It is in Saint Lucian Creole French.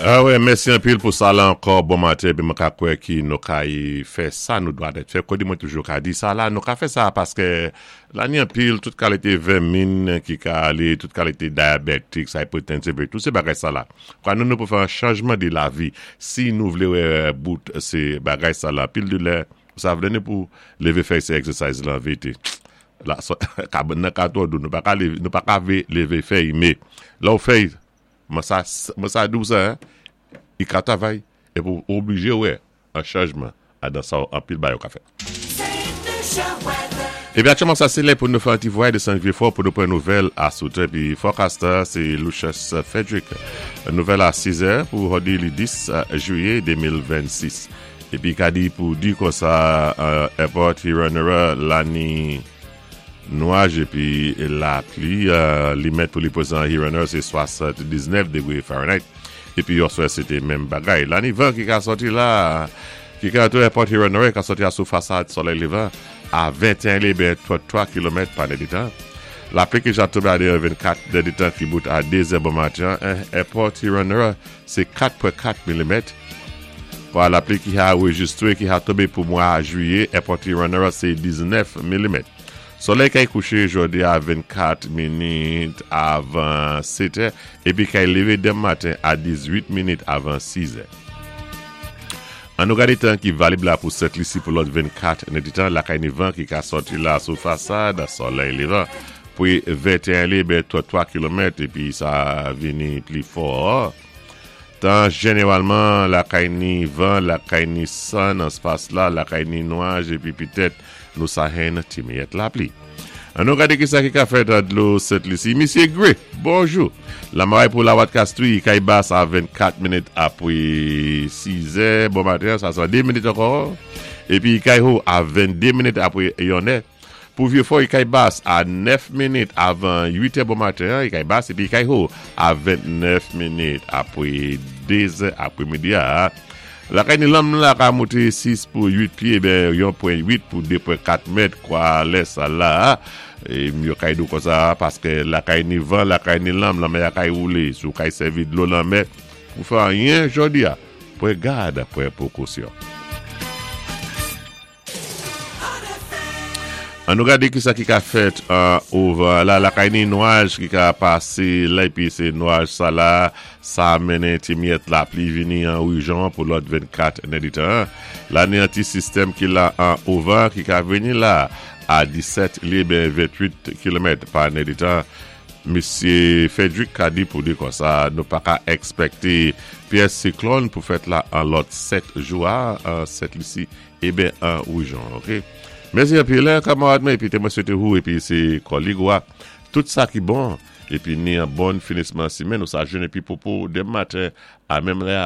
Ah wè, mèsi anpil pou sa la ankò, bon maten, épi mwen ka kwè ki nou kay fè sa nou dwa dèt fè. Kòdi mwen toujou ka di sa la, nou ka fè sa paskè la ni anpil, tout kalité vèmin ki ka alé, tout kalité diabetic, hypertensive, tout sé bagay sa la. Kwa nou nou pou fè an chanjman di lavi, si nou vlé wè bout sé bagay sa la, pil de lè, sa vlé nou pou lévé fè sé exercise lan vete. La, so, kabann nan ka twò dou, nou pa ka lévé, nou pa ka vé lévé fèy, mé lè ou fèy, mwen sa, mwen sa di ou sa, i ka travay, épi ou oblijé wè an chanjman adan sa anpil bagay ou ka fè. Épi aktyèlman sa sé lè pou nou fè an ti vwayaj desann Vyé-Fò pou nou pran nouvèl a sou tè. Épi forecaster sé Lucius Frederick. Nouvèl a 6 è pou jòdi li 10 jwiyé 2026. Épi ka di pou di konsa Airport Huron la ni nwaj épi lapli li mèt pou li prezan Huron sé 79 degwé Fahrenheit. Épi yòswè sé té menm bagay. La ni van ki ka sòti la ki ka antre Airport Huron ka sòti a sou fasad solèy lévan a 21 lé ben 33 kilomèt pa nèditan. Lapli ki ja tonbé a deyò 24 nèditan ki bout a 2 zè bon maten an Airport Huron sé 4.4 milimèt. Kwa lapli ki ha anrejistre ki ha tonbé pou mwa jwiyé Airport Huron sé 19 milimèt. Solèy kay kouché jòdi a 24 minit avan 7 è épi kay lévé denmen maten a 18 minit avan 6 è. An nou gadé tan ki valib la pou Sent Lisi pou lòt 24 nèditan lakay ni van ki ka sòti la sou fasad solèy lévan pwi 21 lé ben 33 kilomèt épi sa vini pli fò. Tan jeneralman lakay ni van, lakay ni san nan spas la, lakay ni nwaj épi pitèt nou sa henn ti miyèt lapli. An nou gade kisa ki ka fèt an dlo Sent Lisi. Misye Gray, bonjou! Lamaray pou Lawat Kastri, kay bas a 24 minit apwe 6 è bon maten, sa se an 2 minit ankò. Épi kay ho a 22 minit apwe yon è. Pou Vyé-Fò, kay bas a 9 minit avan 8 è bon maten an, kay bas, épi kay ho a 29 minit apwe 2 zè apwe midi a. Lakay ni lanm la ka moute 6 pou 8 pyé, ben 1.8 pou 2.4 mèt kwa lè sa la. E yo kay di konsa paskè lakay ni van, lakay ni lanm, lanmè a kay woulé. Si ou kay sèvi dlo lanmè pou fè anyen jòdi a, pran gad, pran pwekosyon. An nou gade kisa ki ka fèt an ovan la lakay ni nwaj ki ka pase la epi se nwaj sa la sa mennen ti miyèt lapli vini an rejyon an pou lòt 24 nèditan la ni an ti sistèm ki la an ovan ki ka vini la a 17 li ben 28 kilomèt pa nèditan. Misye Frederick ka di pou di konsa nou pa ka ekspekte pyès siklòn pou fèt la an lòt 7 jou a an Sent Lisi e ben an rejyon ok. Mèsi anpil kamarad mwen epi te mwen swete ou epi se kòlig ou a tout sa ki bon epi ni an bon finisman simenn ou sa jwenn epi popo demen maten a menm lè a.